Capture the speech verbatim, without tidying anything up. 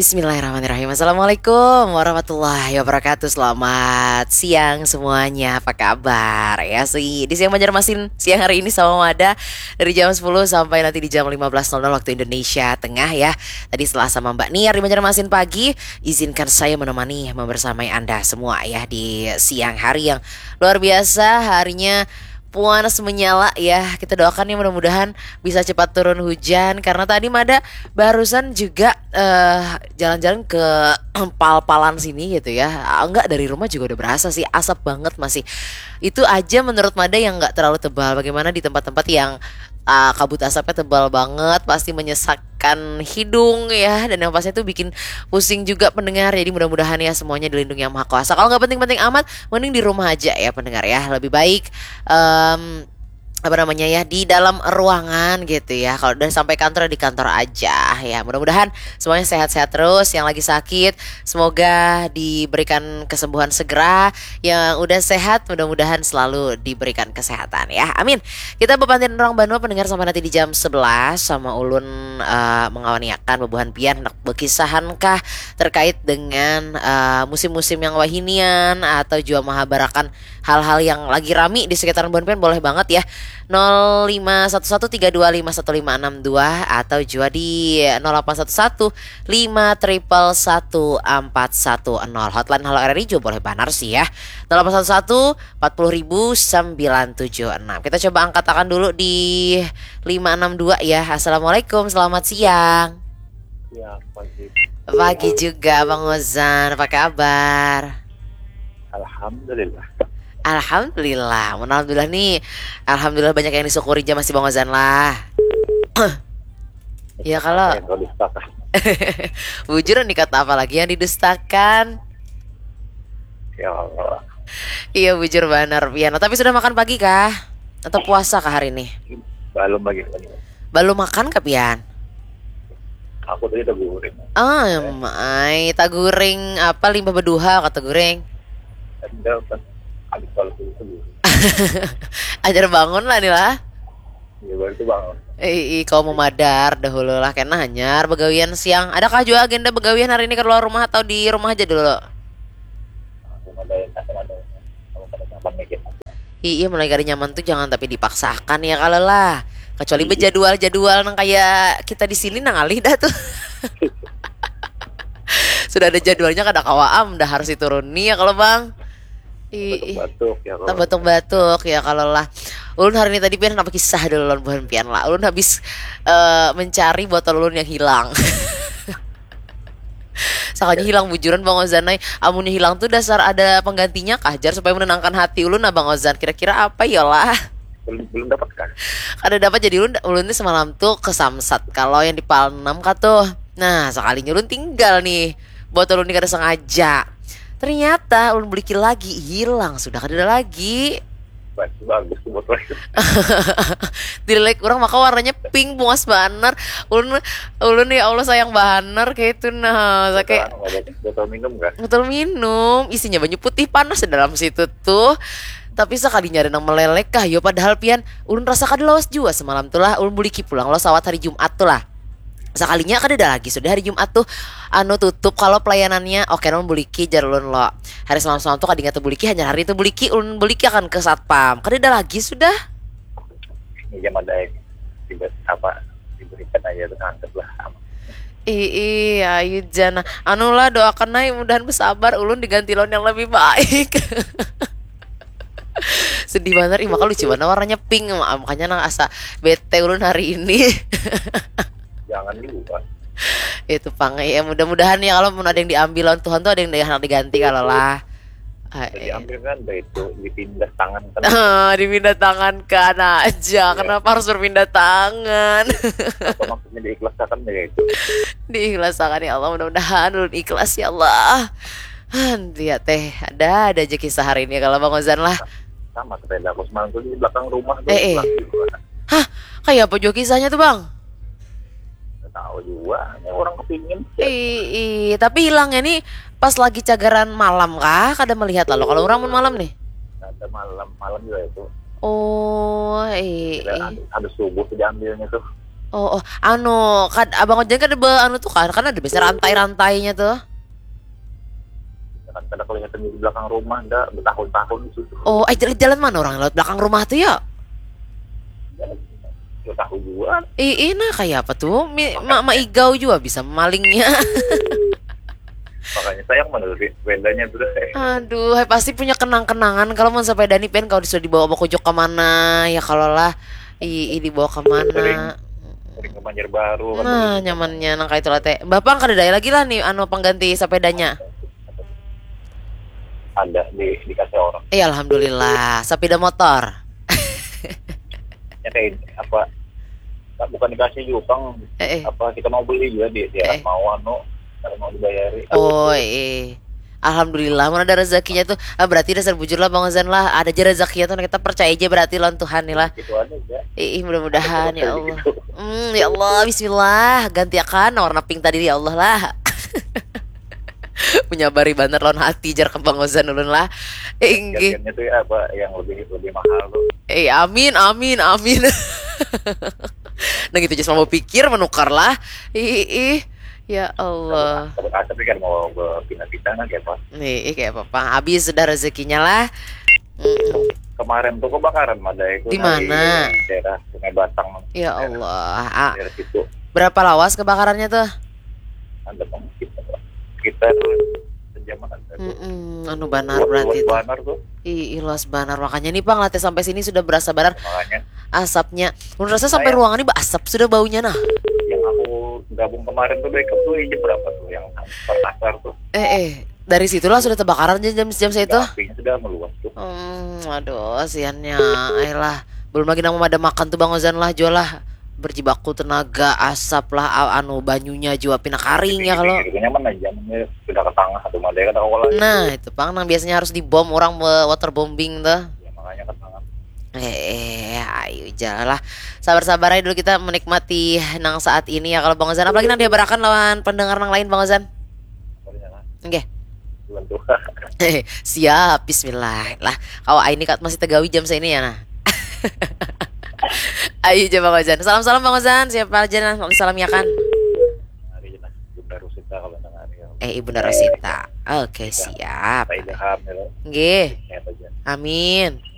Bismillahirrahmanirrahim. Assalamualaikum warahmatullahi wabarakatuh. Selamat siang semuanya. Apa kabar? Ya, si di siang Banjarmasin siang hari ini sama Mada dari jam sepuluh sampai nanti di jam lima belas nol nol waktu Indonesia Tengah ya. Tadi setelah sama Mbak Niar di Banjarmasin pagi, izinkan saya menemani membersamai Anda semua ya di siang hari yang luar biasa, harinya puas menyala ya. Kita doakan ya mudah-mudahan bisa cepat turun hujan karena tadi Mada barusan juga eh, jalan-jalan ke pal-palan sini gitu ya. Ah, enggak, dari rumah juga udah berasa sih, asap banget masih. Itu aja menurut Mada yang enggak terlalu tebal. Bagaimana di tempat-tempat yang ah, kabut asapnya tebal banget, pasti menyesakkan hidung ya, dan yang pasti itu bikin pusing juga pendengar. Jadi mudah-mudahan ya semuanya dilindungi yang maha kuasa. Kalau nggak penting-penting amat, mending di rumah aja ya pendengar ya, lebih baik em, apa namanya ya, di dalam ruangan gitu ya. Kalau udah sampai kantor, di kantor aja ya. Mudah-mudahan semuanya sehat-sehat terus. Yang lagi sakit, semoga diberikan kesembuhan segera. Yang udah sehat, mudah-mudahan selalu diberikan kesehatan ya, amin. Kita bepantin orang banua pendengar sampai nanti di jam sebelas sama ulun eh, mengawaniakan bebuhan pian, hendak bekisahan kah terkait dengan eh, musim-musim yang wahinian atau jua mahabarakan hal-hal yang lagi rami di sekitaran buhan pian, boleh banget ya. Nol lima satu satu tiga dua lima satu lima enam dua atau jua di nol delapan satu satu lima triple satu empat satu nol. Hotline Halo R R I juga boleh banar sih ya. Nol delapan satu satu empat puluh ribu sembilan tujuh enam. Kita coba angkat akan dulu di lima enam dua ya. Assalamualaikum, selamat siang. Ya, pagi. Pagi juga Bang Ozan, apa kabar? Alhamdulillah. Alhamdulillah. Mun alhamdulillah nih, alhamdulillah banyak yang disyukuri aja masih Bang Ozan lah. Ya kalau Yang kau dustakan. Bujur nih, kata apa lagi yang didustakan? Ya Allah. Iya, bujur banar pian. Tapi sudah makan pagi kah? Atau puasa kah hari ini? Belum lagi, belum. Belum makan kah pian? Aku tadi udah guring. Em, ai, taguring apa, limbah beduha kata guring? Ada kan. Habis kalau itu guring. Ajar bangun lah nih lah. Ya, baru itu bangun. Ih, ih, kau memadar dahulu lah, kena hanyar begawian siang. Adakah juga agenda begawian hari ini keluar rumah atau di rumah aja dulu? Aku ada yang tak ada. Kamu pada nyaman mikir. Iya, mulai kada nyaman tuh jangan tapi dipaksakan ya kalau lah. Kecuali Iya. Bejadwal-jadwal nang kayak kita di sini nang alih dah tuh. Sudah ada jadwalnya kada kawa am, dah harus dituruni ya kalau bang. Ih, ih. Batuk-batuk ya kalau. Tak batuk-batuk ya kalau lah. Ulun hari ini tadi pian apa kisah dulu lawan buhan pian lah. Ulun habis eh, mencari botol ulun yang hilang. Sakanya hilang bujuran Bang Ozan ai. Amunnya hilang tuh dasar ada penggantinya kah jar supaya menenangkan hati ulun nah Bang Ozan. Kira-kira apa ya lah? Belum, belum dapat kan? Kada dapat, jadi ulun ulun nih semalam tuh ke Samsat kalau yang di Palnam kah tuh. Nah, sekalinya ulun tinggal nih. Botol ulun ini kada sengaja. Ternyata ulun beliki lagi, hilang sudah kada ada lagi. Bagus, bagus tuh botol itu. Dilelek orang maka warnanya pink, bungas banar. Ulun ulun ya Allah sayang banar kayak itu nah. Saya kayak Botol, botol minum kan? Botol minum, isinya banyu putih panas di dalam situ tuh. Tapi sekalinya ada nang melelek kah yo, padahal pian ulun rasa kada lawas jua semalam tuh lah. Ulun buliki pulang lo sawat hari Jumat tuh lah. Sekalinya kada ada lagi sudah hari Jumat tuh, anu, tutup kalau pelayanannya. Oke, ulun buliki jar ulun lo. Hari semalam-semalam tuh kada ingat buliki, hanya hari itu buliki, ulun buliki akan ke satpam. Kada ada lagi sudah. Ini jam ada yang tidak apa, diberikan aja tuh, anggap lah aman. Ih, ih, ayu jana. Anu lah, doakan ai mudahan bersabar ulun diganti lawan yang lebih baik. Sedih banar, ih maka lucu banar warnanya pink, ma- makanya nang asa bete ulun hari ini. Jangan juga. Itu pang ya, mudah-mudahan ya kalau mun ada yang diambil lawan Tuhan tuh ada yang hendak diganti kalau lah. Ah, Jadi eh. ambil kan, dari itu dipindah tangan kan. Ah, dipindah tangan kan aja. Kenapa harus berpindah tangan? Apa maksudnya diikhlaskan ya itu? Diikhlaskan ya Allah, mudah-mudahan ulun ikhlas ya Allah. Han, lihat teh, ada ada aja kisah hari ini kalau Bang Ozan lah. Sama sepeda aku semalam tuh di belakang rumah tuh. Eh, eh. Lagi juga. Hah, kayak apa juga kisahnya tuh Bang? Nggak tahu juga. Ini orang kepingin. Ih, ih, tapi hilangnya nih pas lagi cagaran malam kah? Kada melihat lalu kalau orang mun malam nih. Ada malam, malam juga itu. Oh, ih, Ada ih. habis, habis subuh tuh diambilnya tuh. Oh, oh, anu, kan abang Ojan kan ada be, anu tuh kan, kan ada biasa rantai-rantainya tuh. Kan kada kelihatan di belakang rumah, dah bertahun-tahun di situ. Oh, eh, jalan, jalan mana orang lewat belakang rumah tuh ya? Gak tahu juga. Ih, ih, nah kayak apa tuh? Mi, ma, maigau juga bisa malingnya. Makanya sayang mana tadi sepedanya tuh deh. Aduh, hai, pasti punya kenang-kenangan kalau mau sepeda nih pen kalau sudah dibawa bawa kujuk kemana ya kalau lah. Ih, ih, dibawa kemana? Sering, sering ke Banjarbaru kan. Nah, nyamannya nang kayak itu lah teh. Bapak kada ada lagi lah nih anu pengganti sepedanya. Ada di dikasih orang. Iya, alhamdulillah, sepeda motor. Ya kayak ini, apa? Nah, bukan dikasih juga, Bang. Eh, eh. Apa kita mau beli juga di, di Eh. mau anu, kalau mau dibayari. Oh, eh. Alhamdulillah, mana ada rezekinya tuh. Ah, berarti dasar bujur lah Bang Ozan lah. Ada aja rezekinya tuh, kita percaya aja berarti lawan Tuhan nih lah. Gitu aja ya. Ih, mudah-mudahan ya Ada Allah. gitu. Hmm, ya Allah, bismillah, gantiakan warna pink tadi ya Allah lah. Menyabari banget lawan hati jar ke Bang Ozan ulun lah. Eh, inggih. Gantiannya tuh ya apa yang lebih lebih mahal tuh. Eh, amin, amin, amin. Nah gitu, just mau pikir menukar lah. Ih, ih, ih. Ya Allah. Tapi kan mau berpindah-pindah kan kayak apa? Nih, ih, kayak apa? Habis sudah rezekinya lah. Mm-mm. Kemarin tuh kebakaran ada itu Di dari mana? Daerah Sungai Batang. Ya Allah. Ah, Daerah situ berapa lawas kebakarannya tuh? Ada bang kita kita tuh sejaman ada tuh. Mm-mm, anu banar Luas berarti tuh. Banar tuh. Ih, ih, luas banar. Makanya nih Bang, latih sampai sini sudah berasa banar Makanya asapnya. Menurut saya sampai ruangan ini asap sudah baunya nah. Yang aku gabung kemarin tuh backup tuh jam berapa tuh yang Makassar tuh? Eh, eh, dari situlah sudah terbakaran jam jam saya itu. Apinya sudah meluas tuh. Hmm, aduh, siannya, ayolah. Belum lagi nang memadam makan tuh Bang Ozan lah, jual lah. Berjibaku tenaga, asap lah, a- anu banyunya juga pina karing ya kalau. Itu nyaman aja, namanya sudah ke tengah atau mana kan aku lah. Nah, itu pang nang biasanya harus dibom orang be- waterbombing tuh. Ya, makanya ke tengah. Eh, eh, ayo jalan lah. Sabar-sabar aja dulu kita menikmati nang saat ini ya kalau Bang Ozan. Apalagi nang dihabarakan lawan pendengar nang lain Bang Ozan. Pokoknya lah, Oke. bulan tua. Siap, bismillah. Lah, kalau ini kat masih tegawi jam saya ini ya nah. Ayo coba Bang Ozan. Salam-salam Bang Ozan. Siapa aja nah mau salam ya kan? Hari ini Bunda Rosita kalau dengar ya. Eh, Ibunda Rosita. Oke, siap. Pak Ilham ya. Nggih. Ya aja. Amin.